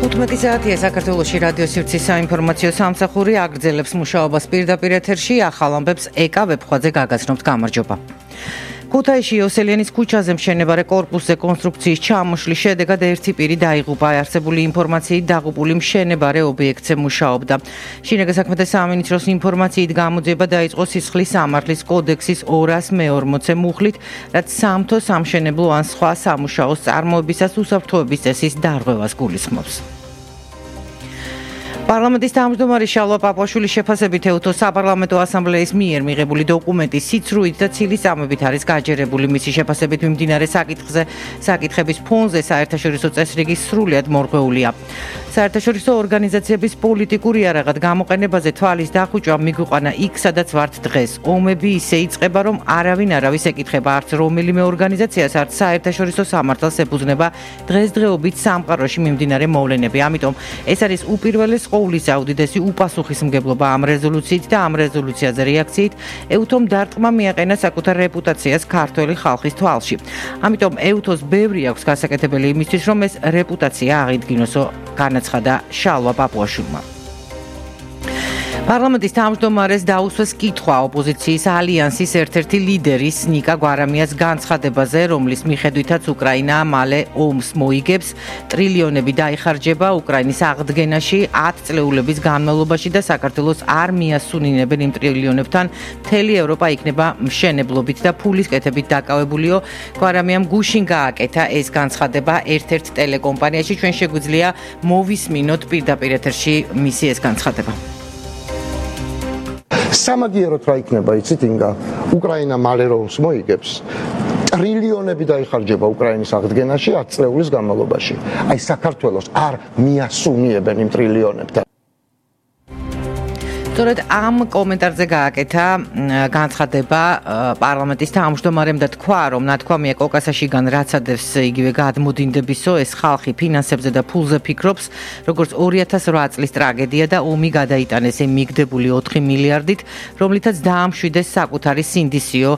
15 საათია საქართველოში რადიო სივრცის საინფორმაციო სამსახური აგრძელებს მუშაობას პირდაპირ ეთერში. ახალ ამბებს ეკა ვებხვაძე გაგაცნობთ. გამარჯობა. ქუთაისში იოსელიანის ქუჩაზე მშენებარე კორპუსზე კონსტრუქციის ჩამოშლის შედეგად ერთი პირი დაიღუპა. არსებული ინფორმაციით დაღუპული მშენებარე ობიექტზე მუშაობდა. შინაგან საქმეთა სამინისტროს ინფორმაციით გამოძიება დაიწყო სისხლის სამართლის კოდექსის 240 მუხლით, რაც სამთო სამშენებლო ან სხვა სამუშაოს წარმოებისას უსაფრთხოების წესის დარღვევას გულისხმობს. პარლამენტის თავმჯდომარის შალვა პაპუაშვილის შეფასებით ეუთო საპარლამენტო ასამბლეის მიერ მიღებული დოკუმენტი სიცრუით და ცილის წამებით არის გაჯერებული. მისი შეფასებით მიმდინარე საკითხების ფონზე საერთაშორისო წესრიგი სრულიად მორღვეულია. საერთაშორისო ორგანიზაციების პოლიტიკური იარაღად გამოყენებაზე თვალის დახუჭვა მიგვიყვანა იქ, სადაც ვართ დღეს. ომები ისე იწყება, რომ არავინ არავის ეკითხება, არც რომელიმე ორგანიზაციას, არც საერთაშორისო სამართალს ეფუძნება დღესდღეობით სამყაროში მიმდინარე მოვლენები. ამიტომ ეს არის უპირველეს ყოვლისა უდიდესი უპასუხისმგებლობა ამ რეზოლუციით და ამ რეზოლუციაზე რეაქციით ეუთომ დარტყმა მიაყენა საკუთარ რეპუტაციას ქართველი ხალხის თვალში. ამიტომ ეუთოს ბევრი აქვს გასაკეთებელი იმისთვის, რომ ეს რეპუტაცია აღიდგინოსო, განაცხადა შალვა პაპუაშვილმა. პარლამენტის თავმჯდომარეს დაუსვეს კითხვა ოპოზიციის ალიანსის ერთ-ერთი ლიდერის ნიკა გვარამიას განცხადებაზე, რომლის მიხედვითაც უკრაინა მალე ომს მოიგებს, ტრილიონები დაიხარჯება უკრაინის აღდგენაში 10 წლეულების განმავლობაში და საქართველოს არ მიასუნინებენ იმ ტრილიონებთან, მთელი ევროპა იქნება მშენებლობით და ფულის კეთებით დაკავებულიო. გვარამიამ გუშინ გააკეთა ეს განცხადება ერთ-ერთ ტელეკომპანიაში. ჩვენ შეგვიძლია მოვისმინოთ პირდაპირ ეთერში მისი ეს განცხადება. სამაგიეროდ რა იქნება, იცით ინგა, უკრაინა მალე რომს მოიგებს, ტრილიონები დაიხარჯება უკრაინის აღდგენაში 10 წლეულის განმავლობაში. აი საქართველოს არ მიასუნიებენ იმ ტრილიონებთან. სწორედ ამ კომენტარზე გააკეთა განცხადება პარლამენტის თავმჯდომარემ და თქვა, რომ ნათქვამია კოკასაშიგან რაც ადევს იგივე გადმოდინდებისო, ეს ხალხი ფინანსებზე და ფულზე ფიქრობს, როგორც 2008 წლის ტრაგედია და ომი გადაიტანეს იმ მიგდებული 4 მილიარდით, რომლითაც დაამშვიდეს საკუთარი სინდისიო,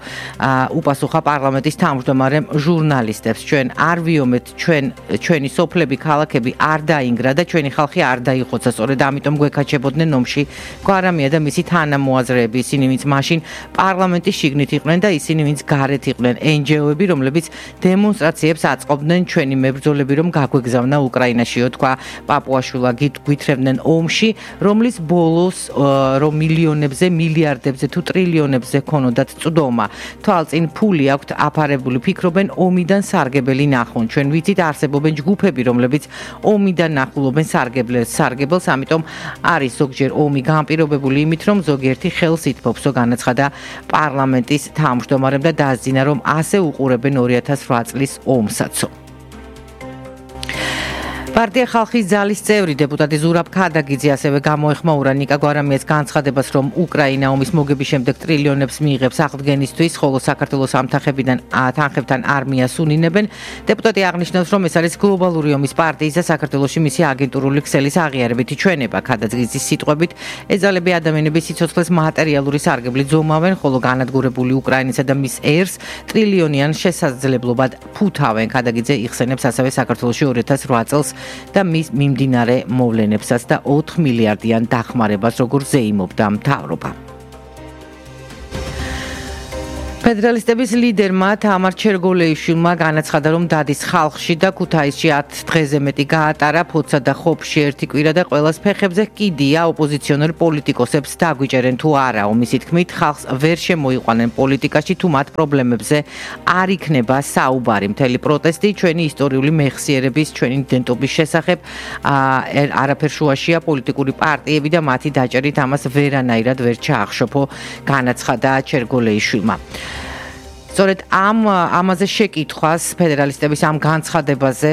უპასუხა პარლამენტის თავმჯდომარემ ჟურნალისტებს. ჩვენ არ ვიომეთ, ჩვენი სოფლები, ქალაქები არ დაინგრა და ჩვენი ხალხი არ დაიხოცა, სწორედ ამიტომ გვეკაჩებოდნენ ომში. გვარამია და მისი თანამოაზრეები, ისინი ვინც მაშინ პარლამენტის შიგნით იყვნენ და ისინი ვინც გარეთ იყვნენ, NGO-ები, რომლებიც დემონსტრაციებს აწყობდნენ, ჩვენი მებრძოლები რომ გაგვეგზავნა უკრაინაშიო, თქვა პაპუაშვილა, გვითხრევდნენ ომში, რომლის ბოლოს რომ მილიონებზე, მილიარდებზე თუ ტრილიონებზე ქონოდათ წვდომა. თვალწინ ფული აქვთ აფარებული, ფიქრობენ ომიდან სარგებელი ნახონ. ჩვენ ვიცით არსებობენ ჯგუფები, რომლებიც ომიდან ნახულობენ სარგებელს, ამიტომ არის ზოგჯერ ომი განპირობებული იმით, რომ ზოგიერთი ხელს ითფობსო, განაცხადა პარლამენტის თავმჯდომარემ და დაასძინა, რომ ასე უყურებენ 2008 წლის ომსაცო. პარტია ხალხის ძალის წევრი დეპუტატი ზურაბ ქადაგიძე ასევე გამოეხმაურა ნიკა გვარამიას განცხადებას, რომ უკრაინა ომის მოგების შემდეგ ტრილიონებს მიიღებს აღდგენისთვის, ხოლო საქართველოს ამ თანხებთან არ მიასუნინებენ. დეპუტატი აღნიშნავს, რომ ეს არის გლობალური ომის პარტიის და საქართველოში მისი აგენტურული ქსელის აღიარებითი ჩვენება. ქადაგიძის სიტყვებით, ეს ძალები ადამიანების სიცოცხლეს მატერიალური სარგებლით ზომავენ, ხოლო განადგურებული უკრაინისა და მის ერს ტრილიონიან შესაძლებლობად ფუთავენ. ქადაგიძე იხსენებს ასევე საქართველოში 2008 წელს და მის მიმდინარე მოვლენებსაც და 4 მილიარდიან დახმარებას, როგორ ზეიმობდა მთავრობა. ფედერალისტების ლიდერმა თამარ ჩერგოლეიშვილმა განაცხადა, რომ დადის ხალხში და ქუთაისში 10 დღეზე მეტი გაატარა, ფოცა და ხოფში ერთი კვირა და ყველას ფეხებზე კიდია ოპოზიციონერ პოლიტიკოსებს დაგვიჭერენ თუ არაო. მისი თქმით, ხალხს ვერ შემოიყვანენ პოლიტიკაში, თუ მათ პრობლემებზე არ იქნება საუბარი. მთელი პროტესტი ჩვენი ისტორიული მეხსიერების, ჩვენი იდენტობის შესახებ არაფერ შუაშია პოლიტიკური პარტიები და მათი დაჭერით ამას ვერანაირად ვერ ჩაახშობო, განაცხადა ჩერგოლეიშვილმა. სწორედ ამაზე შეკითხვას ფედერალისტების ამ განცხადებაზე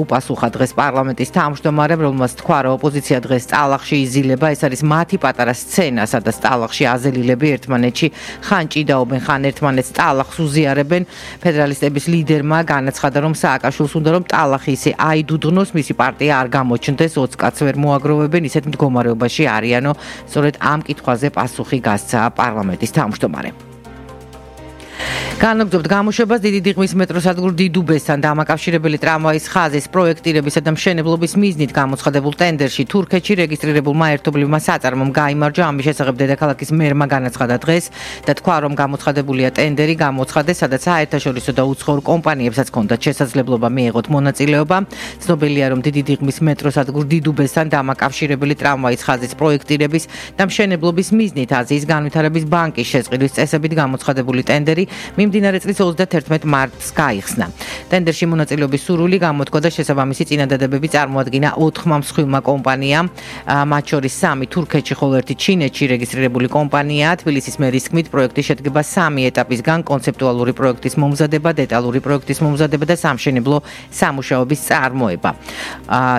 უპასუხა დღეს პარლამენტის თავმჯდომარემ, რომელმაც თქვა, რომ ოპოზიცია დღეს ტალახში იზილება, ეს არის მათი პატარა სცენა, სადაც ტალახში აზელილები ერთმანეთში ხან ჭიდაობენ, ხან ერთმანეთს ტალახს უზიარებენ. ფედერალისტების ლიდერმა განაცხადა, რომ სააკაშვილს უნდა რომ ტალახი ისე აიდუდღნოს, მისი პარტია არ გამოჩნდეს, 20 კაცს ვერ მოაგროვებენ, ისეთ მდგომარეობაში არიანო. სწორედ ამ კითხვაზე პასუხი გასცა პარლამენტის თავმჯდომარემ. განაგრძობთ გამოშვებას დიდი დიღმის მეტროსადგურ დიდუბესთან დამაკავშირებელი ტრამვაის ხაზის პროექტირებისა და მშენებლობის მიზნით გამოცხადებულ ტენდერში თურქეთში რეგისტრირებულმა ერთობლივმა საწარმომ გაიმარჯვა. ამის შესახებ დედაქალაქის მერმა განაცხადა დღეს და თქვა, რომ გამოცხადებულია ტენდერი გამოცხადეს, სადაც საერთაშორისო და უცხოურ კომპანიებსაც ჰქონდათ შესაძლებლობა მიეღოთ მონაწილეობა. ცნობილია, რომ დიდი დიღმის მეტროსადგურ დიდუბესთან დამაკავშირებელი ტრამვაის ხაზის პროექტირების და მშენებლობის მიზნით აზიის განვითარების ბანკის შესყიდვის წესებით გამოცხადებული ტენდერი მიმდინარე წლის 31 მარტს გაიხსნა. ტენდერში მონაწილეობის სურვილი გამოთქვა და შესაბამისი წინადადებები წარმოადგინა 4 მსხვილმა კომპანიამ, მათ შორის 3 თურქეთში, ხოლო 1 ჩინეთში რეგისტრირებული კომპანიაა. თბილისის მერის თქმით, პროექტი შედგება 3 ეტაპისგან: კონცეპტუალური პროექტის მომზადება, დეტალური პროექტის მომზადება და სამშენებლო სამუშაოების წარმოება.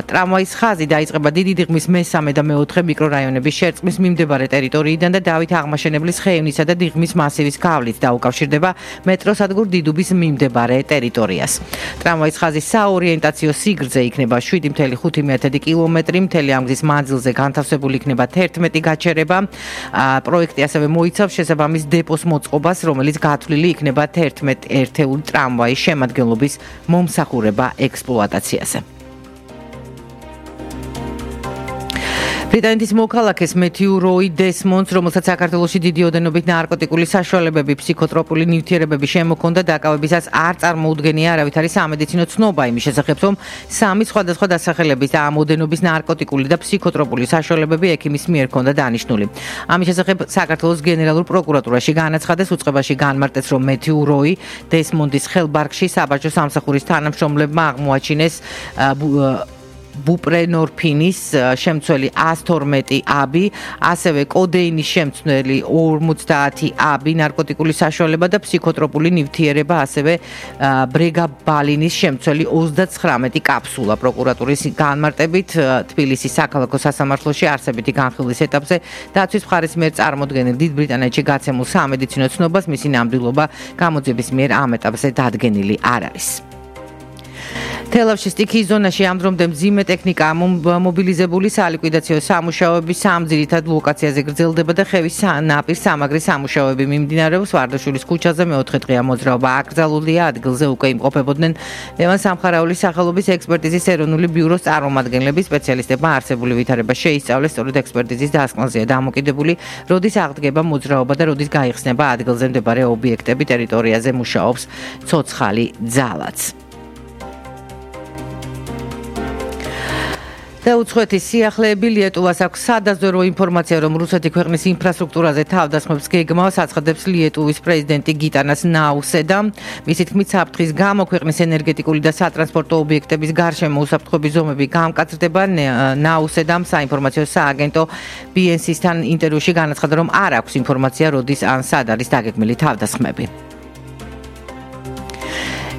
ტრამვაის ხაზი დაიწყება დიდი დიღმის მესამე და მეოთხე მიკრორაიონების შერწყმის მიმდებარე ტერიტორიიდან და დავით აღმაშენებლის ხეივნისა და დიღმის მასივის გავლით დაუკავშირდება მეტროსადგურ დიდუბის მიმდებარე ტერიტორიას. ტრამვაის ხაზის საორიენტაციო სიგრძე იქნება 7.5 კილომეტრი, მთელი ამ გზის მანძილზე განთავსებული იქნება 11 გაჩერება. პროექტი ასევე მოიცავს შესაბამის დეპოს მოწყობას, რომელიც გათვლილი იქნება 11 ერთეული ტრამვაის შემადგენლობის მომსახურება ექსპლუატაციაზე. ბრიტანეთის მოქალაქეს მეთიუ როი დესმონდს, რომელსაც საქართველოში დიდი ოდენობით ნარკოტიკული საშუალებები, ფსიქოტროპული ნივთიერებები შემოქონდა, დაკავებისას არ წარმოუდგენია არავითარი სამედიცინო ცნობა იმის შესახებ, რომ 3 სხვადასხვა დასახელების და ამ ოდენობის ნარკოტიკული და ფსიქოტროპული საშუალებები ექიმის მიერ ჰქონდა დანიშნული. ამის შესახებ საქართველოს გენერალურ პროკურატურაში განაცხადეს, უწყებაში განმარტეს, რომ მეთიუ როი დესმონდის ხელბარგში საბაჟო სამსახურის თანამშრომლებმა აღმოაჩინეს ბუპრენორფინის შემცველი 112 აბი, ასევე კოდეინის შემცველი 50 აბი, ნარკოტიკული საშუალება და ფსიქოტროპული ნივთიერება, ასევე ბრეგაბალინის შემცველი 39 კაფსულა. პროკურატურის განმარტებით, თბილისის საქალაქო სასამართლოში არსებითი განხილვის ეტაპზე დაცვის მხარის მიერ წარმოდგენილ დიდ ბრიტანეთში გაცემულ სამედიცინო ცნობას მისი ნამდვილობა გამოძიების მიერ ამ ეტაპზე დადგენილი არ არის. თელავში სტიქიის ზონაში ამ დრომდე მძიმე ტექნიკა მობილიზებული სალიკვიდაციო სამუშაოები 3 ძირითად ლოკაციაზე გრძელდება და ხევის ნაპირ სამაგრის სამუშაოები მიმდინარეობს. ვარდაშვილის ქუჩაზე მეოთხე დღეა მოძრაობა აკრძალულია. ადგილზე უკვე იმყოფებოდნენ ლევან სამხარაულის სახელობის ექსპერტიზის ეროვნული ბიუროს წარმომადგენლები. სპეციალისტებმა არსებული ვითარება შეისწავლეს, სწორედ ექსპერტიზის დასკვნაზეა დამოკიდებული, როდის აღდგება მოძრაობა და როდის გაიხსნება ადგილზე მდებარე ობიექტები. ტერიტორიაზე მუშაობს ცოცხალი ძალაც. და უცხოეთის სიახლეები ლიეტუვას აქვს სადაზვერვო ინფორმაცია, რომ რუსეთი ქვეყნის ინფრასტრუქტურაზე თავდასხმებს გეგმავს, აცხადებს ლიეტუვის პრეზიდენტი გიტანას ნაუსედა. მისი თქმით, საფრთხის გამო ქვეყნის ენერგეტიკული და სატრანსპორტო ობიექტების გარშემო უსაფრთხოების ზომები გამკაცრდება. ნაუსედამ საინფორმაციო სააგენტო BNC-სთან ინტერვიუში განაცხადა, რომ არ აქვს ინფორმაცია, როდის ან სად არის დაგეგმილი თავდასხმები.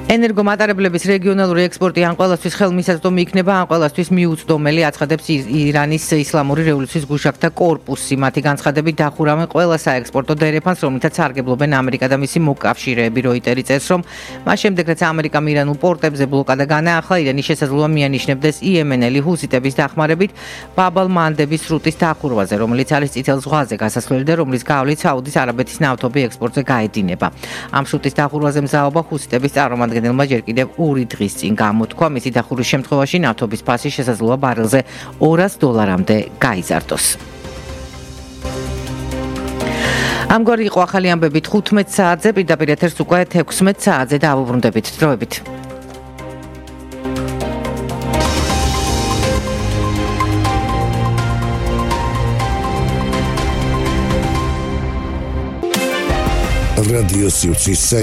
ენერგომატარებლების რეგიონალური ექსპორტი ან ყველასთვის ხელმისაწვდომი იქნება, ან ყველასთვის მიუწვდომელი, აცხადებს ირანის ისლამური რევოლუციის გუშაგთა კორპუსი. მათი განცხადებით დახურავენ ყველა საექსპორტო დერეფანს, რომლითაც სარგებლობენ ამერიკა და მისი მოკავშირეები. როიტერი წერს, რომ მას შემდეგ, რაც ამერიკამ ირანულ პორტებზე ბლოკადა განაახლა, ირანი შესაძლოა მიანიშნებდეს იემენელი ჰუსიტების დახმარებით ბაბ-ალ-მანდების სრუტის დახურვაზე, რომელიც არის წითელ ზღვაზე გასასვლელი და რომლის გავლით საუდის არაბეთის ნავთობი ექსპორტზე გაედინება. ამ სრუტის დახურვაზე მზაობა ჰუსიტების წარმომადგენელმა ჯერ კიდევ 2 დღის წინ გამოთქვა. მისი დახურვის შემთხვევაში ნავთობის ფასი შესაძლოა ბარელზე $200-მდე გაიზარდოს. ამგვარი იყო ახალი ამბები 15 საათზე, პირდაპირ ეთერს უკვე 16 საათზე დავუბრუნდებით. დროებით. რადიო სიუცის